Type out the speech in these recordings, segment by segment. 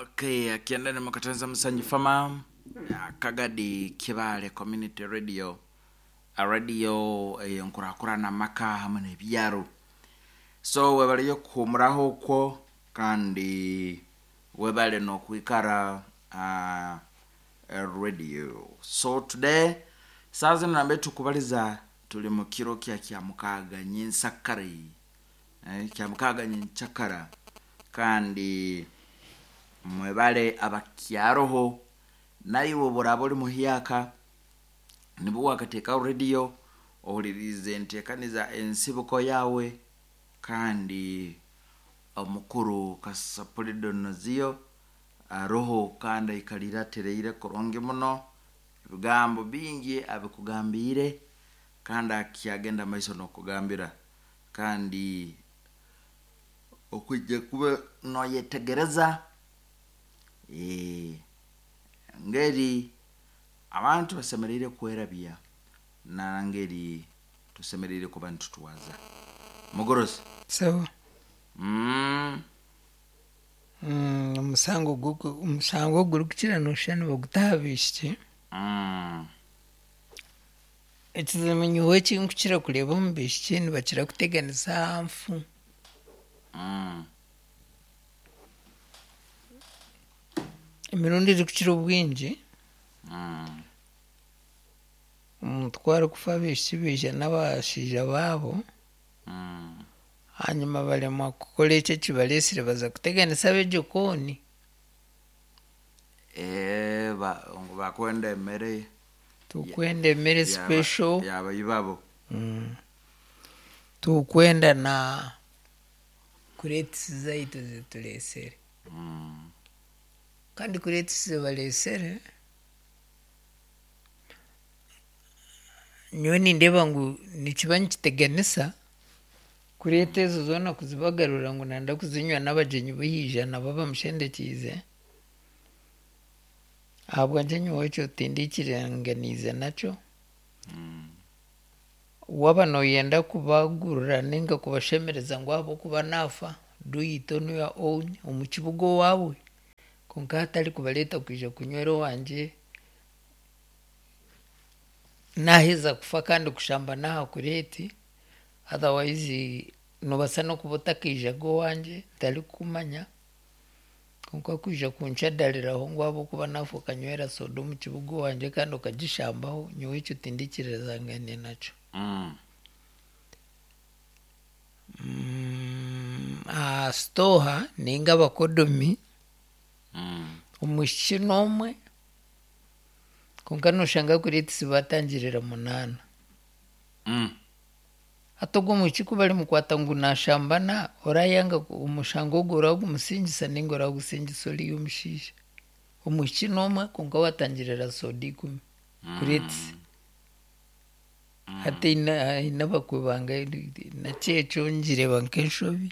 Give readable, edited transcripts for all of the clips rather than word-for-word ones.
Okay, akiendene mukatanza Musanyi Farmer, Kagadi Kibale Community Radio, radio eyenkurakurana amaka hamwe n'ebyaro. So webaleyo kuhumuraho okwo kandi webale n'okwikara radio. So today saa zino nambe tukubaliza tuli mu kiro kya Kyamukaaga nyinsakare, Kyamukaaga nyenkyakara, kandi mwebale abakyaroho naiwe obu oraaba ori muhyaka nibwo wakateekaho rediyo ohuririize enteekaniza ensibuko yaawe kandi omukuru Kasapuli Donozio aroho kandi aikaliire atereire kurungi muno, ebigambo bingi abikugambiire kandi akyagenda maiso n'okugambira kandi okwija kuba noyetegereza engeri abantu basemeriire kwerabya nangeri tusemeriire kuba nitutwaza. Mugorozi. Sawa. Omusango gw'oku- omushango ogurikukira nooshusha nibaguta aha baishiki. Ekizibu nyowe eki nkukira kureeba omu baishiki nibakira kuteganisa aha nfu. Emirundi erikukira obwingi, omuntu ku arikufa abaishiki baija n'abashaija baabo, hanyima baremwa kukora ekyo ekibareesire baza kuteganisa ab'egikooni. Ngu bakwenda emere. Tukwenda emere special. Yaba ibabo. Tukwenda na kureetisi zaitu zitureesere. Kandi kureetisi zibareesere, nyowe nindeeba ngu nikiba nikiteganisa kureeta ezo zoona kuzibagarura ngu nanda kuzinywa n'abagyenyi baija nabo bamushendekiize. Ahabwangye nyowe ekyo tindikiringaniize nakyo. Waaba nooyenda kubagurira ninga kubashemereza ngu ahabw'okuba naafa, do it on your own omu kibuga owaawe kwonka hatari kubareeta kwija kunywera owangye naaheza kufa kandi kushamba n'aha kureeti, otherwise noobaasa n'okuba otakaijaga owangye ntarikukumanya kwonka kwija kunshadariraho ngu ahabw'okuba naafa okanywera soda omu kibuga owangye kandi okagishambaho, nyowe ekyo tindikirizangane nakyo. Aha sitooha ninga abakodomi, omwishiki n'omwe kwonka noshanga kureetisi batangirira munaana. Hati ogwo omwishiki ku barimukwata ngu nashambana, orayanga omushango ogwo oragumusingisa ninga oragusingisa oriya omushaija? Omwishiki n'omwe kwonka watangirira soda 10 kureetisi. Hati haine abakwe bange nakyo ekyo ngireeba nk'enshobi.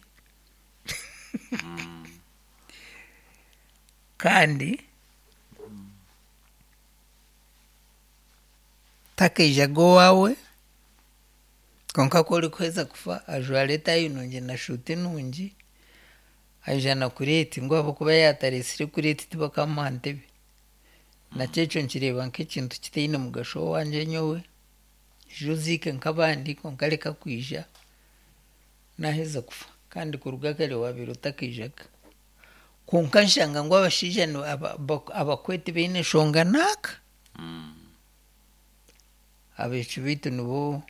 Kandi takaijaga owaawe kwonka ku orikuheza kufa ajwara etaayi nungi na shuuti nungi aija na kureeti ngu ahabw'okuba yaatareetsire kureeti tibakamuha ntebe. Nakyo ekyo nkireeba nk'ekintu kitaine mugasho owangye nyowe. Ija oziike nk'abandi kwonka reka kwija naaheza kufa kandi kuruga kare waabaire otakaijaga. Kwonka nshanga ngu abashaija abakwe tibaine nshonga naaka. Abaishiki baitu nibo,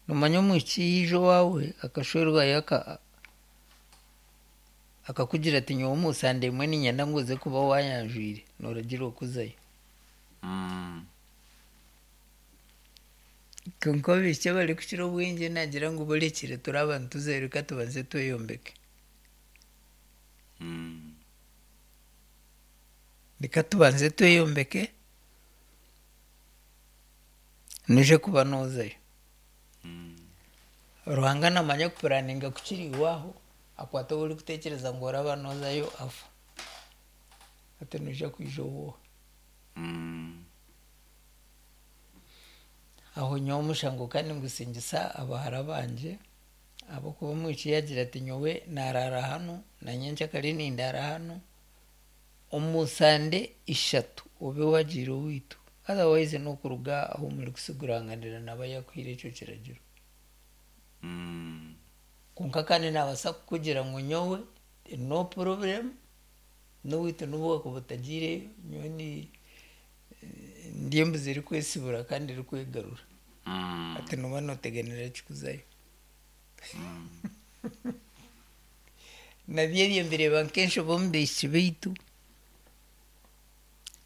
noomanya omwishiki yaija owaawe akashwerwayo akakugira ati nyowe omu sande emwe niinyenda ngu oze kuba waayanjwire, nooragirwa kuzayo. Kwonka abaishiki abarikukira obwingi naagira ngu borekire turi nituzayo reka tubanze tweyombeke. Reka tubanze tweyombeke noija kuba noozayo. Ruhanga naamanya kupuraninga kukira iwe aho, akwata ou orikutekyereza ngu oraba noozayo afa. Hati noija kwija owooha? Aho nyowe omushango ka ningusingisa abahara bangye ahabw'okuba omwishiki yaagira ati nyowe naaraara hanu na nyenkyakare nindaara hanu. Omu sande ishatu obe wagiire owaitu otherwise n'okuruga ahu murikutsiguranganira naaba yaakuhaire ekyo kiragiro. Kwonka kandi naabaasa kukugira ngu nyowe no problem n'owaitu n'obu waakuba otagiireyo nyowe ndi embuzi erikwesibura kandi erikwegarura. Hati nooba nooteganira ki kuzayo? Nabyo ebyo mbireeba nk'enshobe omu baishiki baitu.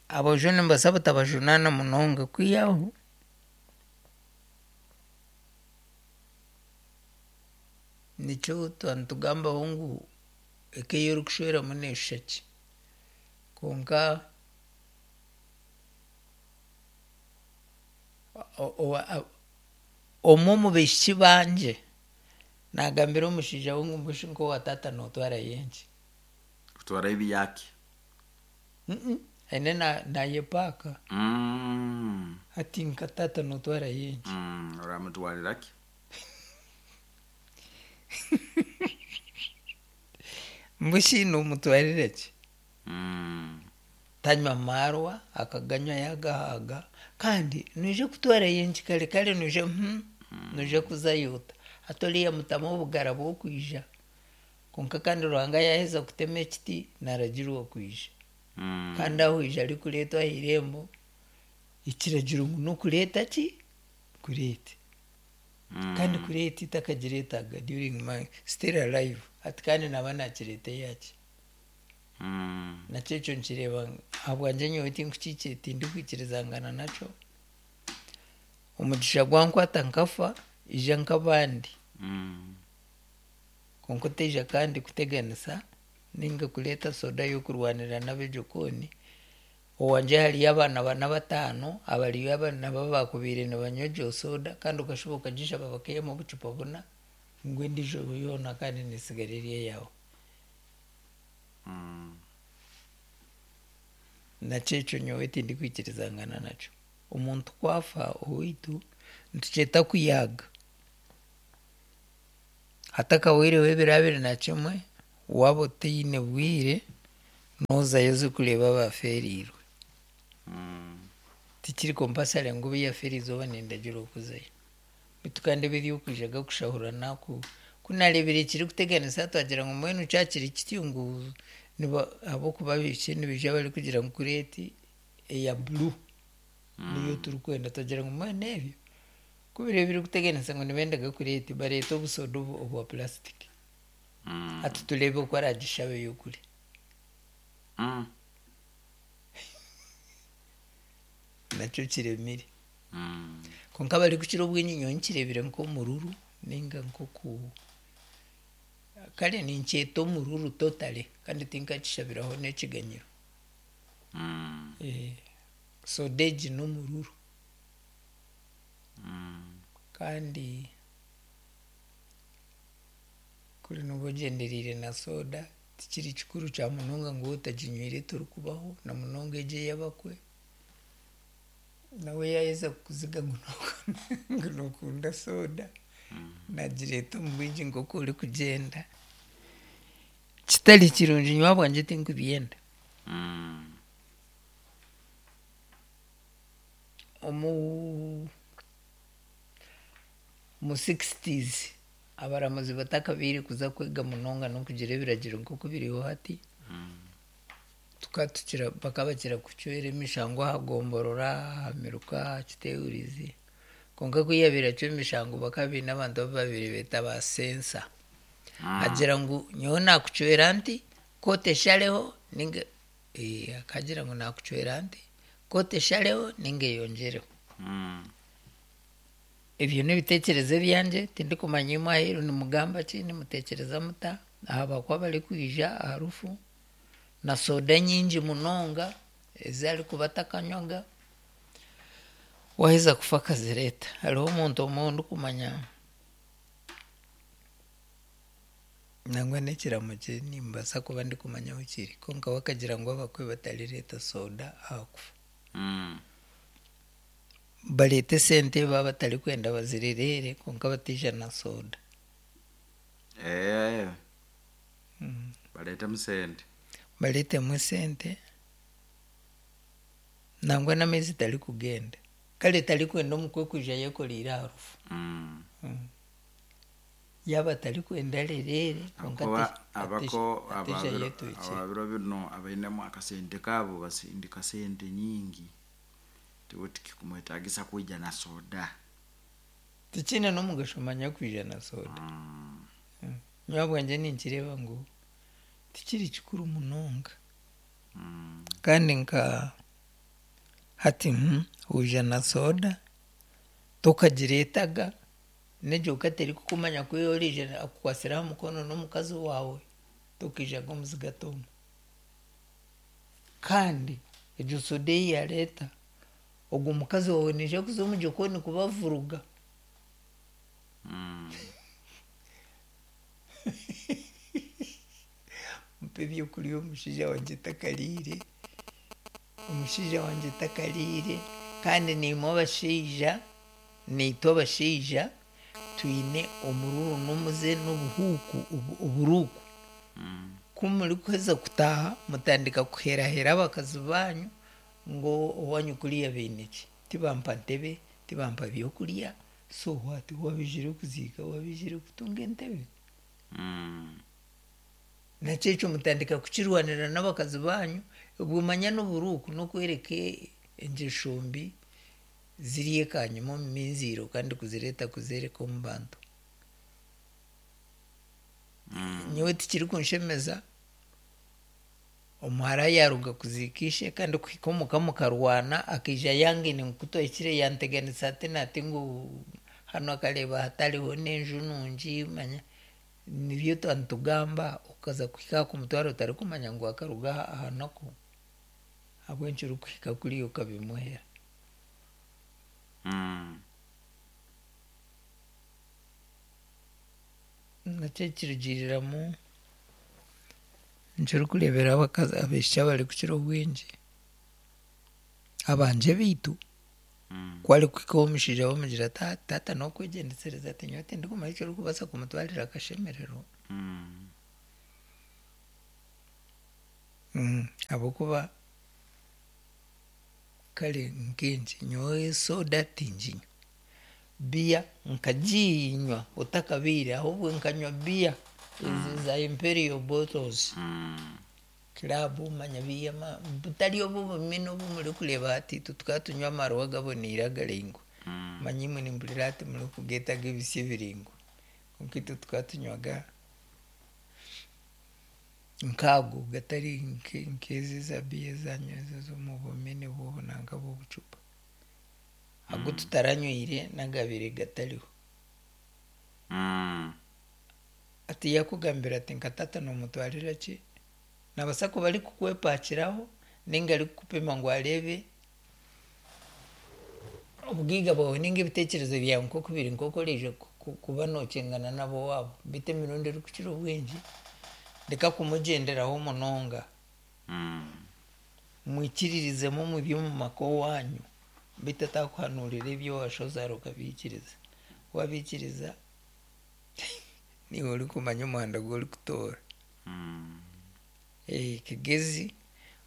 Aboojo nimbaasa butabajunaana munonga kwihaho nikyo twaba nitugambaho ngu eka ei orikushweramu neeshusha ki? Kwonka omwe omu baishiki bangye naagambira omushaija we ngu mbwenu nk'owa taata nootwarayo enki? Kutwarayo ebiyaki. Aine naayepaaka. Ati nka taata nootwarayo enki? Oramutwarira ki? Mbwenu shi noomutwarira ki? Tanywa maarwa, akaganywa yaagahaaga, kandi noija kutwarayo enki kare kare noija noija kuzayo ota? Hati oriya mutamu obugara bw'okwija. Kwonka kandi Ruhanga yaaheza kutema ekiti, naaragirwa kwija. Kandi aho oija arikureetwa aha irembo, ekiragiro ngu n'okureeta ki? Kureete. Kandi kureete takagireetaga during my still alive. Hati kandi naaba naakireeta eyaki? Nakyo ekyo nkireeba ahabwangye nyowe tindikwikirizangana nakyo. Omugisha gwankwata nkafa, ija nk'abandi. Kwonka otaija kandi kuteganisa ninga kureeta soda y'okurwanira n'ab'egikooni. Owangye hariyo abaana bana bataano abariyo nabo abaakubaire nibanywa egyo soda kandi okashuba okagishaba bakaihamu obucupa buna ngu endiijo yoona kandi neetsigara eri eyaawe. Nakyo ekyo nyowe tindikwikirizangana nakyo. Omuntu ku afa owaitu nitukyeta kuyaaga. Hatakahweireho ebiro 21, waaba otaine bwire, noozayo oze kureeba abaafeereirwe. Tikiri compulsory ngu obu yafa erizooba nindagiirwa kuzayo. Beitu kandi ebi eby'okwija gakushahurana ku ku naareebire kirikuteganisa twagira ngu mbwenu kyakiri kityo ngu ahabw'okuba abaishiki nibaija barikugira ngu kureeti eya blue niyo turikwenda twagira ngu mbwenu ebyo ku biriyo birikuteganisa ngu nibendaga kureeti bareete obusoda obwa plastic hati tureebe oku aragishabe y'okurya. Nakyo kiremire. Kwonka abarikukira obwingi nyowe nkireebire nk'omururu ninga nk'oku kare ninkyeta omururu totally kandi tinkakishabiraho n'ekiganyiro. Soda egi n'omururu. Kandi kuri nooba ogyendereire na soda tikiri kikuru kya munonga ngu waaba otaginywire torikubaho na munonga egi ey'abakwe. Nawe yaaheza kukuziga ngu nookunda soda, naagireeta omu bwingi nk'oku orikugyenda. Kitari kirungi nyowe ahabwangye tinkubyenda. Omu 60s abaramuzi batakabaire kuza kwega munonga n'okugira ebiragiro nk'oku biriho hati, tukatukira bakabakira kucwera emishango aha gomborora, aha miruka, aha kiteehurizi. Kwonka ku yaabaire acwa emishango bakaba baine abantu abu baabaire beeta ba sensa. Agira ngu nyowe naakucwera nti, kooti eshareho ninga akagira ngu naakucwera nti, kooti eshareho ninga eyongyereho. Ebyo n'ebiteekyerezo ebyangye, tindikumanya imwe aheeru nimugamba ki, nimuteekyereza muta aha bakwe abarikwija aha rufu na soda nyingi munonga ezi arikuba atakanywaga, waaheza kufa akazireeta. Hariho omuntu omwe ou ndikumanya nangwa n'ekiramo kye nimbaasa kuba ndikumanya ahu kiri kwonka we akagira ngu abakwe batarireeta soda aha kufa. Bareete esente baaba batarikwenda bazirereere kwonka bataija na soda. Bareetemu sente. Bareetemu esente. Nangwa n'amaizi tarikugenda. Kare tarikwenda omukwe kwija ayekoreire aha rufu. Yaaba atarikwenda arereere kwonka Ahakuba abako ateija ayetuukire. aba biro binu abainemu akasente kaabo basindika sente nyingi tiwe tikikumwetagisa kwija na soda. Tikiine n'omugasho manya kwija na soda. Nyowe ahabwangye ninkireeba ngu tikiri kikuru munonga. Kandi nka hati waija na soda tokagireetaga n'egyo ka terikukumanya ku oriija akukwatsire aha mukono n'omukazi waawe tokaijaga omuzigato omwe. Kandi egyo soda ei yaareeta ogwo mukazi waawe naija kuza omu gikoni kubavuruga. Mpa ebyokurya omushaija wangye takariire, omushaija wangye takariire kandi naimwe abashaija, naitwe abashaija twine omururu n'omuze n'obuhuuku oburuuku. Ku murikuheza kutaaha mutandika kuherahera abakazi baanyu ngu owaanyu kuriya baine ki? Tibampa ntebe, tibampa byokurya, so what? Wabaijire kuziika, wabaijire kutunga entebe? Nakyo ekyo mutandika kukirwanira n'abakazi baanyu, obwo manya n'oburuuku n'okworeka engyesho mbi ziri ekanyima omu minziiro kandi kuzireeta kuzeereka omu bantu. Nyowe tikirikunshemeza omuhara yaaruga kuziika ishe kandi kuhika omuka mukarwana akaija yangaine ngu ku twahikire yanteganisa ati nati ngu hanu akareeba hatariho n'enju nungi manya nibyo twaba nitugamba okaza kuhika aha kumutwara otarikumanya ngu akaruga aha naku ahabw'enki orikuhika kuriya okabimuhera. Nakyo kirugiiriramu nikirikureebera abakazi abaishiki abarikukira obwingi abangye beitu ku arikuhika ow'omushaija bamugira ati taata n'okwegyendesereza ati nyowe tindikumanya eki orikubaasa kumutwarira akashemererwa. Ahabw'okuba kare nkaingi nyowe soda tinginywa, biya nkaginywa otakabaire ahabwe nkanywa biya ezi za imperial bottles, club manya biya butari obu obumina obu murikureeba hati itwe tukaba tunywa amarwa gaboneire agaraingwa. Manya imwe nimpurira hati murikugeeta ag'ebisya ebiraingwa kwonka itwe tukaba tunywaga nk'ago gatari nk'ezi eza biya ezanyu ezi ez'omu bumini bw'obunanka bw'obucupa. Agu tutaranywire n'agabaire gatariho. Hati yaakugambira ati nka taata noomutwarira ki? Naabaasa kuba arikukwepakiraho nainga arikukupima ngu areebe obugaiga bwawe nainga ebiteekyerezo byawe nk'oku biri nk'oku oraije kuba nookyengana n'ab'owaabo. Beitu emirundi erikukira obwingi reka kumugyenderaho munonga. Mwikiririzemu omu by'omu maka owaanyu beitu atakuhanuurira ebi owashozaara okabiikiriza. Waabiikiriza niiwe orikumanya omuhanda gu orikutoora. Kigezi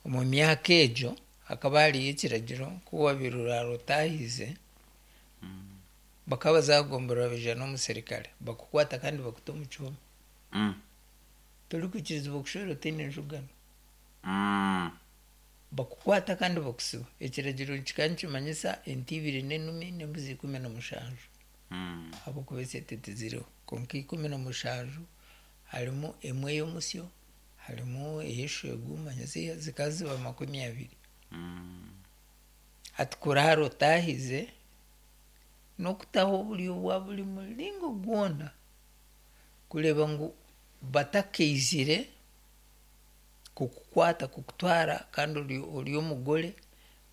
omu myaka egyo hakaba hariyo ekiragiro ku waabaire oraara otaahize bakaba baza kugomborora baija n'omusirikare bakukwata kandi bakuta omu kihome. Torikwikirizibwa kushwera otaine njugano. Bakukwata kandi bakusiba. Ekiragiro kikaba nikimanyisa ente ibiri n'enumi n'embuzi 17. Ahabw'okuba esente tiziriho. Kwonka 17 harimu emwe y'omusyo, harimu ey'eshwegu manya zikaba ziba 20. Hati kuraara otaahize n'okutaho oburyo bwa buri muringo gwona kureeba ngu batakaizire kukukwata kukutwara kandi ori omugore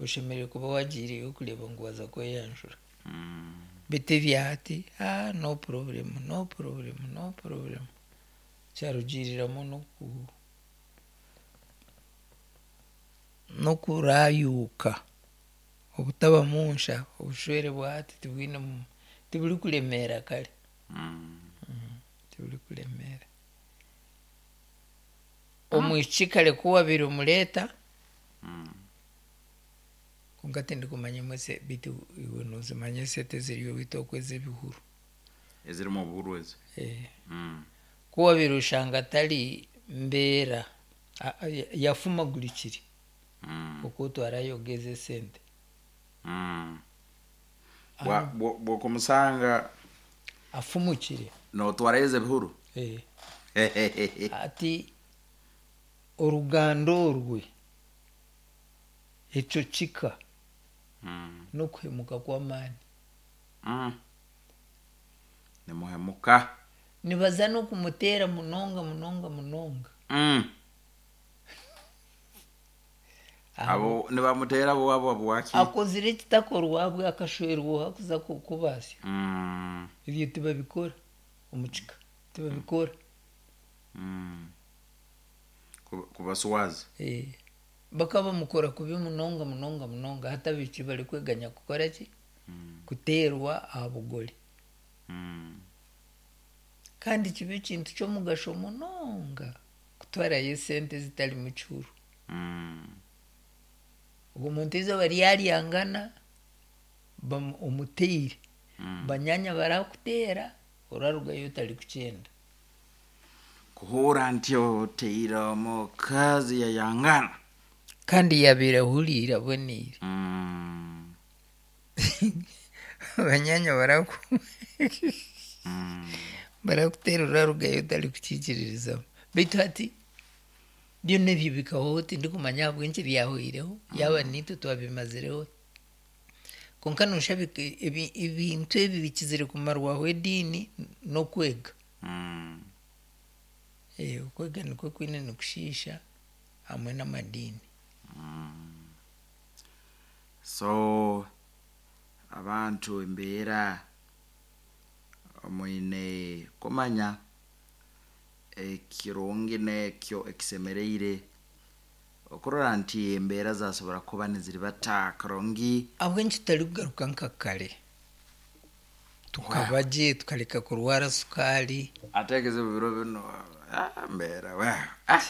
oshemereire kuba waagiireyo kureeba ngu waaza kweyanjura. Beitu ebya hati no problem, no problem, no problem. Kyarugiiriramu n'okuraayuuka obutabamu nsha obushwere bwa hati tibwine tiburikuremeera kare. Tiburikuremeera. Omwishiki kare ku waabaire omureeta. Kwonka tindikumanya imwe se beitu iwe noozimanya esente eziri owaitu okwo ez'ebihuru. Ezirimu obuhuru ezo. Eh. Ku wabaire oshanga atari mbeera a- a- yafumagurikire oku otwarayo ezo esente. Bwokumusanga Afumukire. Nootwarayo ez'ebihuru. Eh. Ati oruganda orwe ekyo kika n'okuhemuka kw'amaani. Nimuhemuka. Nibaza n'okumuteera munonga munonga munonga. Abo nibamuteera abo abo abwaki? Akozire ekitakorwa abwe akashwerwa oha kuza kubaasya. Ebyo tibabikora omu kika tibabikora. Kubaswaza. Eh, bakaba bamukora kubi munonga munonga munonga hati abaishiki barikweganya kukora ki? Kuteerwa aha bugore. Kandi kiba ekintu ky'omugasho munonga kutwarayo esente zitarimu kihuru. Ogwo muntu eizooba ryaryangana omuteire, banyaanya barakuteera orarugayo otarikukyenda. Kuhuura nti oteire omukazi yayangana. Kandi yabaire ahuriire aboneire. Banyaanya baraku barakuteera orarugayo otarikukiikiririzamu. Beitu hati byona ebyo bikahwaho tindikumanya ahabw'enki byahwaireho yaaba niitwe twabimazireho. Kwonka noshusha ebintu ebi bikizire kumarwaho ediini n'okwega. Okwega nikwo kwine nikushiisha hamwe n'amadiini. So abantu embeera mwine kumanya ekirungi n'ekyo ekisemereire okurora nti embeera zasobora kuba niziribata kurungi. Ahabw'enki tutarikugaruka nka kare tukaba gye tukareka kurwara sukaari? Ate ekizibu biro binu, ah, mbeera, ah.